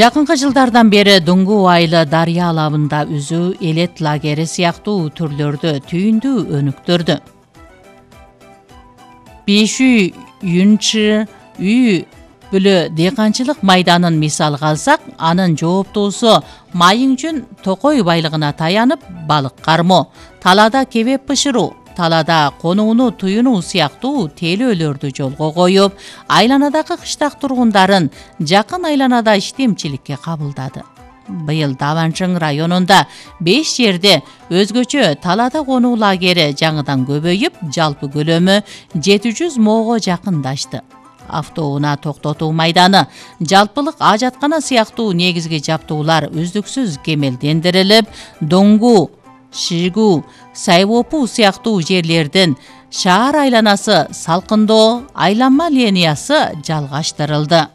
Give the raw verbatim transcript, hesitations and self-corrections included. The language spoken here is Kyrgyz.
Жакынкы жылдардан бери Дуңгу айылы дарыя алабында үзүү, элет лагери сыяктуу түрлөрдө түйүндүү өнүктүрдү. беш үй, Юнчы үй бүлө дыйканчылык майданын мисалга алсак, анын жооптуусу майың жүн токой байлыгына таянып балык кармоо, талаада кебеп бышыруу, талаада конууну туюнуу сыяктуу тейлөөлөрдү жолго коюп, айланадагы кыштак тургундарын жакын айланада иштемчиликке кабылдады. Быйыл Даванчың районунда беш жерде өзгөчө талаада конуу лагери жаңыдан көбөйүп, жалпы көлөмү жети жүз моого жакындашты. Автоунаа токтотуу майданы, жалпылык ажаткана сыяктуу негизги жаптуулар үздүксүз кемелдендирилип, Доңгу, Шигу, Сайвопу сыяктуу жерлердин шаар айланасы салкындоо айланма линиясы жалгаштырылды.